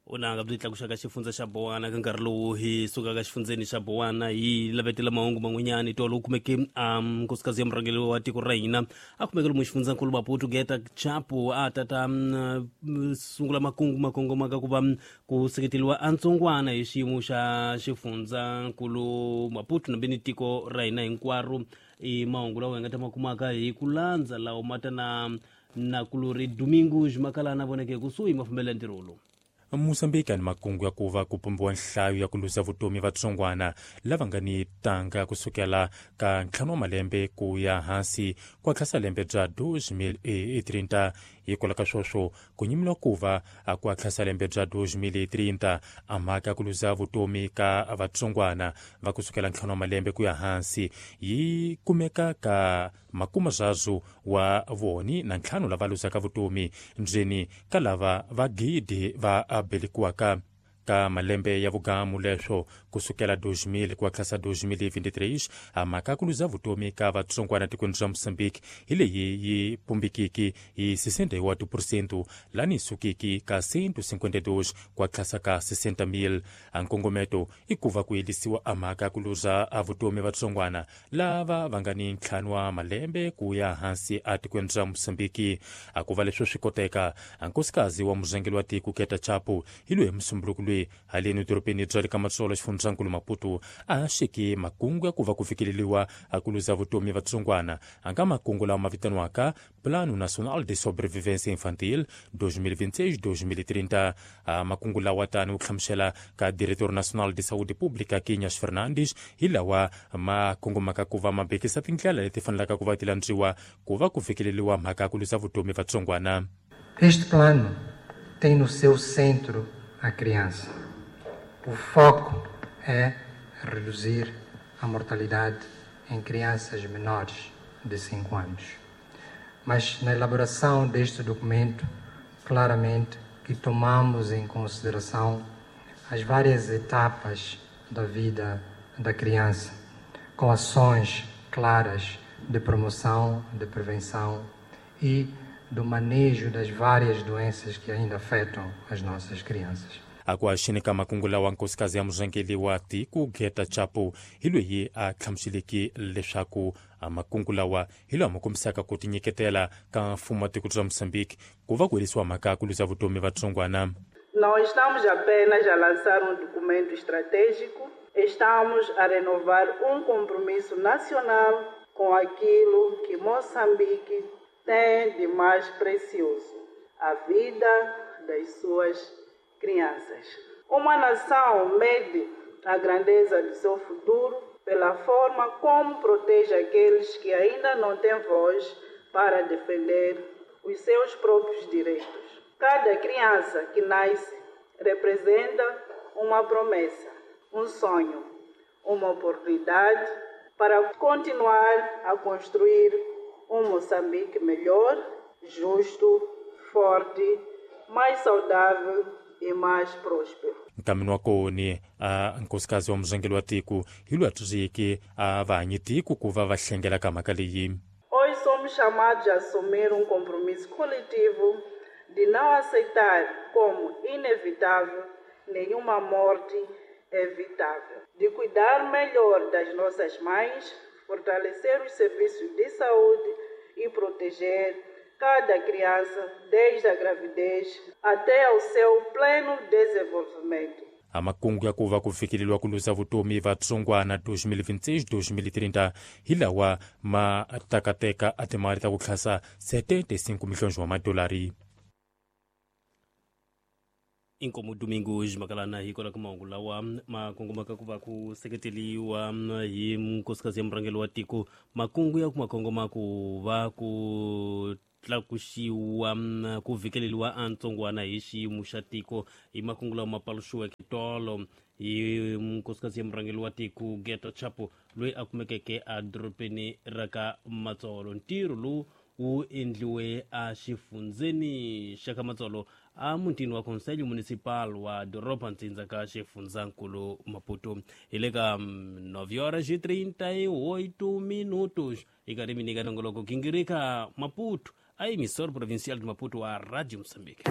Vunanga byi tlakuxaka xifundza xa Bowana ka nkarhi lowu hi sukaka xifundzeni xa Bowana hi lavetela mahungu man'wanyana tolo u kumeke nkosikazi ya murhangeri wa tiko ra hina a kumeke lomu xifundzankulu Maputo Geta Chapo a tata sungula makungu ma kongomaka ku va ku seketeriwa a ntsongwana hi xiyimo xa xifundzankulu Maputo nambe ni tiko ra hina hinkwaro. I mahungu lawa hi nga ta ma kumaka hi ku landza lawa ma ta na nakulori Domingos Makalana voneke kusuhi mafambelo ya ntirho lowu. Mozambique ni makungu ya ku va ku pumbiwa nhlayo ya ku luza vutomi vatsongwana lava nga ni tanga kusukela ka 5 wa malembe ku ya hansi ku hatlisa lembe bya 2030. Hikwalaho ka sweswo ku nyimiwa ku va ku hatlisa lembe bya 2030 a mhaka ya ku luza vutomi ka vatsongwana va kusukela 5 wa malembe ku ya hansi yi kumeka ka 35 wa voni na 5 lava luzaka vutomi ndzeni ka lava va gidi va belekiwaka ka malembe ya vugamu leswo kusukela 2000 ku hatlisa 2023. A mhaka ku luza vutomi ka vatsongwana tikweni ra Mozambique hi leyi yi pumbikiki hi 61% lani sukiki ka 152 ku hatlisa ka 60,000. A nkongometo i ku va ku yelisiwa a mhaka ku luza a vutomi vatsongwana lava va nga ni 5 wa malembe ku ya hansi a tikweni ra Mozambique. A ku va leswo swi koteka a nkosikazi wa murhangeri wa tiko Geta Chapo hi loyi musumbunuko loyi haleni dorobeni bya le ka Matsolo xifundzankulu Maputo a xeke makungu ya ku va ku fikeleriwa a ku luza vutomi vatsongwana a nga makungu lawa ma vitaniwaka Plano Nacional de Sobrevivência Infantil 2026-2030. A makungu lawa tani wu hlamusela ka Diretor Nacional de Saúde Pública Quinhas Fernandes hi lawa ma kongomaka ku va ma bekisa tindlela leti fanelaka ku va ti landziwa ku va ku fikeleriwa mhaka ya ku luza vutomi vatsongwana. Este plano tem no seu centro a criança. O foco é reduzir a mortalidade em crianças menores de 5 anos. Mas na elaboração deste documento, claramente que tomamos em consideração as várias etapas da vida da criança, com ações claras de promoção, de prevenção e do manejo das várias doenças que ainda afetam as nossas crianças. Akuaxini ka makungu lawa nkosikazi ya murhangeri wa tiko Geta Chapo hi loyi a hlamuseleke leswaku makungu lawa hi lawa ma kombisaka ku tinyiketela ka mfumo wa tiko ra Mozambique ku va ku herisiwa mhaka ya ku luza vutomi vatsongwana. Não estamos apenas a lançar um documento estratégico, estamos a renovar um compromisso nacional com aquilo que Moçambique tem de mais precioso, a vida das suas crianças. Uma nação mede a grandeza do seu futuro pela forma como protege aqueles que ainda não têm voz para defender os seus próprios direitos. Cada criança que nasce representa uma promessa, um sonho, uma oportunidade para continuar a construir um Moçambique melhor, justo, forte, mais saudável e mais próspero. Nkamini wa koni a nkosikazi wa murhangeri wa tiko hi loyi a tsundzuxeke a vahanyi tiko ku va va hlengela ka mhaka leyi. Hoje somos chamados a assumir um compromisso coletivo de não aceitar como inevitável nenhuma morte evitável, de cuidar melhor das nossas mães, fortalecer os serviços de saúde e proteger cada criança desde a gravidez até ao seu pleno desenvolvimento. A makungu ya ku va ku fikeleriwa ku luza vutomi vatsongwana 2026-2030 hi lawa ma takateka a timali ta ku tlhasa 75 milhões wa madolari. Inkomo Domingos Makalana hi kwala ka mahungu lawa ma kongomaka ku va ku seketeriwa hi nkosikazi ya murhangeri wa tiko makungu ya ku ma kongoma ku va ku tlakuxiwa ku vhikeleriwa a ntsongwana hi xiyimo xa tiko hi makungu lawa ma paluxiweke tolo hi nkosikazi ya murhangeri wa tiko Geta Chapo loyi a kumekeke a dorobeni ra ka Matsolo. Ntirho lowu wu endliwe a xifundzeni xa ka Matsolo a mutini wa Conselho Municipal wa doroba ntsindza ka xifundzankulu Maputo. Hi le ka 9 horas e 38 minutos hi karhi mi nyika nongoloko gingirika Maputo a emissora provincial de Maputo a Rádio Moçambique.